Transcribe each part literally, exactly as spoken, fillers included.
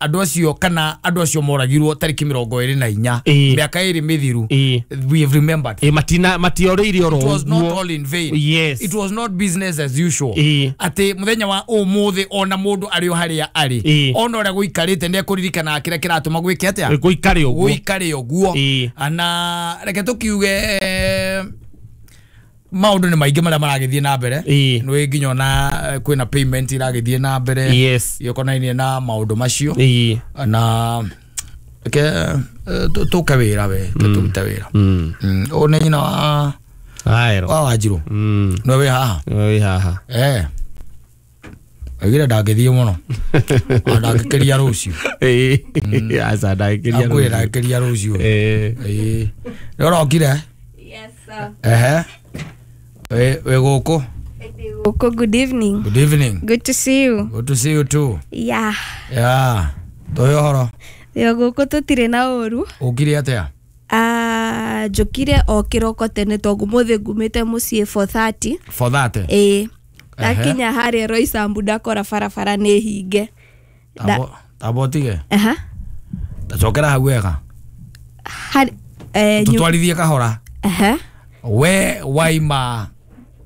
andũ acio kana andũ acio moragirwo tariki mirongo ĩrĩ na inya mĩaka ĩrĩ mĩthiru, we have remembered. Ĩ matina matiorĩire oro. It was not all in vain. Yes. It was not business as usual. Atĩ mũthenya wa ũmũthĩ ona mũndũ arĩ o harĩa arĩ, ona ũrĩa gũikarĩte nĩ ekũririkana kĩrĩa kĩratũma gwĩke atĩa, gũikare ũguo, gũikare ũguo. Na reke tũkiuge maundu ni maingi maria maragithie na mbere, ni nginya ona kwina payment iragithie na mbere. Yes. Yokonainie na maundu macio na ke tuke wira we turute wira o ni nyina wa aero wa Wanjiru no we haha we haha eh agira ndangithie muno ndangikeria rucio eh aca ndangikeria rucio ndangikeria rucio eh eh nĩ ũrokire. Yes sir. Ehe. We we goko. Goko, good evening. Good evening. Good to see you. Good to see you too. Yeah. Yeah. Toyo horo. Yo goko tutire na uru. Ukire atia? Ah, njukire o kiroko tene tongu muthe ngumite mucii four thirty. four thirty? Eh. Ndakinya haria Roysambu ndakora barabara ni hinge. Tabo tabo tige. Aha. Tacokera hau wega. Hari eh tutwarithie kahora. Aha. We waima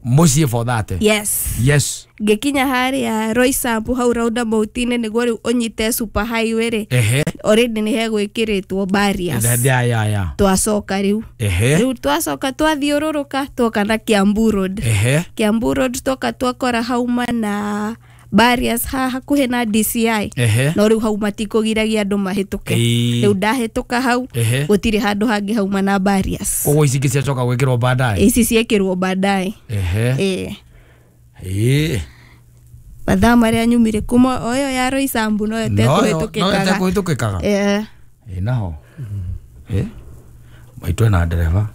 mucii four thirty. Yes. Yes. Ngikinya haria Roysambu hau roundabout-inĩ nĩguo rĩu ũnyite super highway rĩ. Ehe. Already nĩ hegwĩkĩrĩtwo barriers. Yeah, yeah, yeah. Twacoka rĩu. Ehe. Rĩu twacoka twathiũrũrũka twoka na Kiambu Road. Ehe. Kiambu Road twoka twakora hauma na barriers ha hakuhĩ na D C I. Ehe. No rĩu hau matikũgiragia andũ mahĩtũke. Rĩu ndahĩtũka hau gũtirĩ handũ hangĩ hauma na barriers. Koguo ici ingĩ ciacoka gwĩkĩrwo baadaye. Ici ciekĩrwo baadaye. Ehe. Eh. Eh. Mathaa marĩa nyumire kuma o ĩyo ya Roysambu no ĩtekũhĩtũkĩkaga. No ĩtekũhĩtũkĩkaga. Eh. Eh naho. Eh. Maitũ ena ndereba.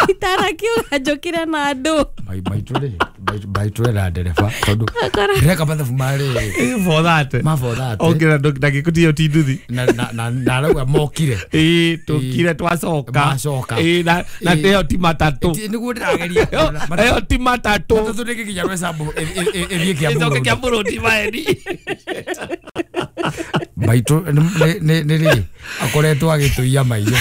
Itarakiuga njũkire na andũ. Maitũ rĩ, maitũ ena ndereba tondũ ndĩreka mathabu marĩ four thirty. Ma four thirty. Okay, na ndagĩkũtia ti nduthi. Na na na arauga mokire. Ĩĩ tũkire twacoka. Macoka. Ĩĩ na na ĩyo ti matatũ. Nĩguo ndĩrageria. Ĩyo ti matatũ. Matatũ nĩgĩkinya Roysambu ĩthiĩ Kiambu. Ĩcoke Kiambu Road maeni. Maitũ nĩ nĩ rĩ akoretwo agĩtũiya maitho.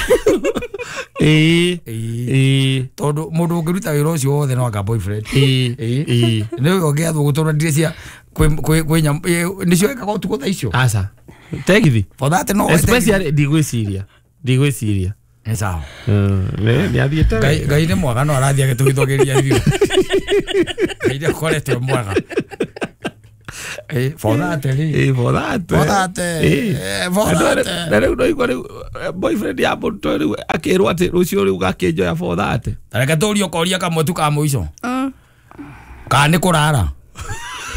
Ĩĩ ĩĩ tondũ mũndũ ũngĩruta wĩra ũcio wothe no anga boyfriend. Ĩĩ ĩĩ nĩ ũngĩathwo gũtũra ndire cia kwĩ kwĩ nyamũ nĩcio ĩkaga ũtukũ thaa icio. Aca tegithi for that no especially ndigwĩciria ndigwĩciria nĩ sawa. Nĩ athiĩte Ngai Ngai nĩ mwega no arathiĩ agĩtũhithũgĩria ithuĩ. Ngai nĩ akoretwo mwega. Eh, for that rĩ. Eh, for that. For that. Eh, for that. Na rĩu no igua rĩu boyfriend ya mũndũ rĩu akĩrwo atĩ rũciũ rĩu gakĩnjoya four thirty. Reke tũrie ũkoria kamwe tu ka mũico. Mm. Kana nĩ kũrara?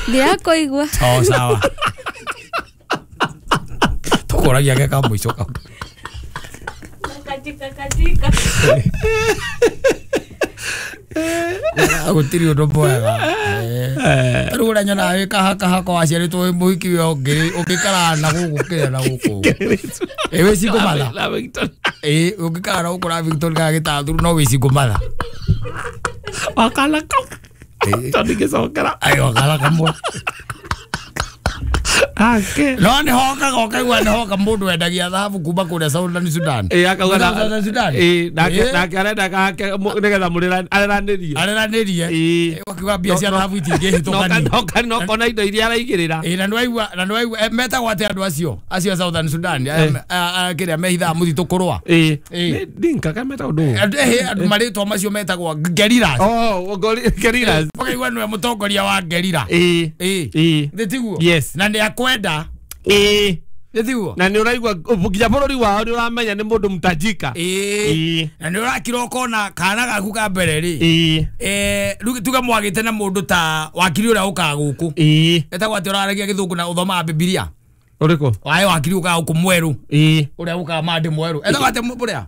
Ndirakũigua. Oh, sawa. Tũkũragia ge ka mũico kau. Katika katika. Gũtirĩ ũndũ mwega. Rĩu ũrĩa nyonaga wĩ kahakahaka waciarĩtwo wĩ mũhiki we ũngĩikaraga na gũkũ kĩrĩa na gũkũ. Ĩ wĩ single mother. Ĩ ũngĩikara na gũkũ na Victoria kana Gĩtathuru no wĩ single mother. Wakala kau. Tondũ ndingĩcokera. Ai wakala kamwe. Ake. No nĩ hokaga ũkaigua nĩ hoka mũndũ wendagia thahabu kuma kũrĩa Southern Sudan. Ĩ akauga na Southern Sudan. Ĩ nake nake arenda kake nĩgetha mũreranĩrie. Areranĩrie. Ĩ ũkiuga mbia cia thahabu itingĩhĩtũkania. No no kona indo iria araigĩrĩra. Ĩ na nĩwaigua na nĩwaigua metagwo atĩa andũ acio acio a Southern Sudan kĩrĩa mehithaga mũtitũ kũrũa. Ĩ Dinka kana metagwo ndũ. Andũ marĩtwa macio metagwo guerrillas. Oh, guerrillas. Ũkaigua nĩwe mũtongoria wa guerrilla. Ĩ ĩ nĩ tiguo. Yes. Na nĩ akwenda. Ĩ nĩ tiguo. Na nĩ ũraigua nginya bũrũri wao nĩ ũramenya nĩ mũndũ mtajika. Ĩ na nĩ ũrakira ũkona kana gaku ka mbere rĩ. Ĩ eh rĩu tuge mwagĩte na mũndũ ta wakiri ũrĩa ũkaga gũkũ. Ĩ etagwo atĩ ũraragia gĩthũngũ na ũthomaga Bibilia. Ũrĩkũ? Waĩ wakiri ũkaga gũkũ mwerũ. Ĩ ũrĩa ũkaga mande mwerũ. Etagwo atĩ ũrĩa?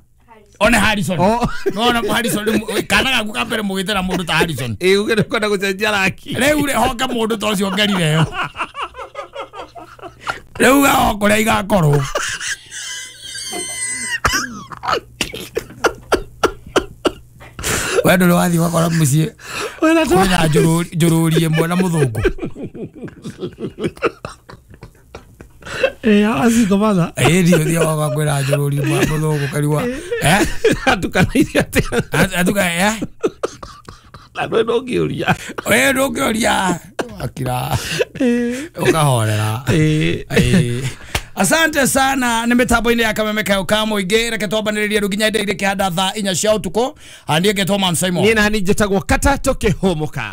One Harrison. Oh. No na Harrison kana gaku ka mbere mũgĩte na mũndũ ta Harrison. Ĩ uge nĩ gũcenjia raki. Rĩu rĩ hoka mũndũ ta ũcio ngerire yo. Rĩu gaho kũrĩa igakorwo. We ndũrĩ wathiĩ ũgakora mũciĩ kwĩna njũrũri ĩmwe na mũthũngũ. Eh, acingo matha. Ĩ ndio thiaga ũgakwĩra njũrũri mũthũngũ kariwa eh Atukanairie atĩa? Atuka eh Na ndũĩ ndũngĩũria. Ĩ ndũngĩũria akira ũkahorera. Eh. Ĩ. Asante sana nä mä tambo-inä ya kameme kayo ka må ingä reke twambanä rä rie rä nginya ndä irä kä handa thaa inya cia å tukå handiä ngetwo Man Simon. Niĩ nani njĩtagwo Kata tũkĩhũmũka.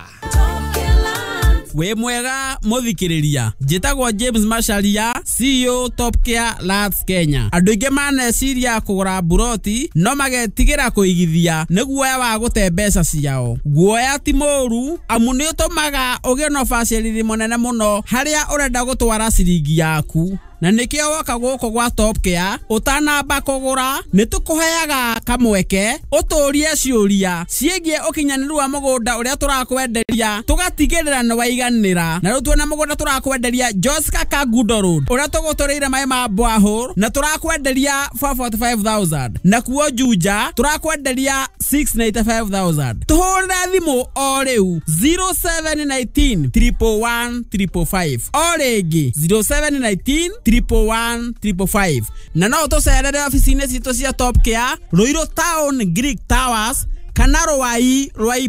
Wĩ mwega mũthikĩrĩria, njĩtagwo James Macharia, C E O Top Care Lands Kenya. Andũ aingĩ maneciria kũgũra mburoti no magetigĩra kũigithia nĩ guoya wa gũte mbeca ciao. Guoya ti mũũru amu nĩ ũtũmaga ũgĩe na ũbacĩrĩri mũnene mũno harĩa ũrenda gũtwara ciringi yaku. Na nĩkĩo woka gũkũ gwa Top Care ũtanamba kũgũra nĩ tũkũheaga kamweke ũtũrie ciũria ciĩgiĩ ũkinyanĩru wa mũgũnda ũrĩa tũrakwenderia tũgatigĩrĩra nĩ waiganĩra. Na rĩu tuona mũgũnda tũrakwenderia Joska Kangundo Road ũrĩa tũgũtũrĩire maĩ ma borehole na tũrakwenderia four forty five thousand, na kuo Juja tũrakwenderia six ninety five thousand. Tũhũrĩre thimũ o rĩu zero seven nineteen triple one triple five, o rĩngĩ zero seven nineteen triple one triple five. Na no ũtũcerere ofici-inĩ citũ cia Top Care Ruiru Town Greek Towers kana Ruai Ruai.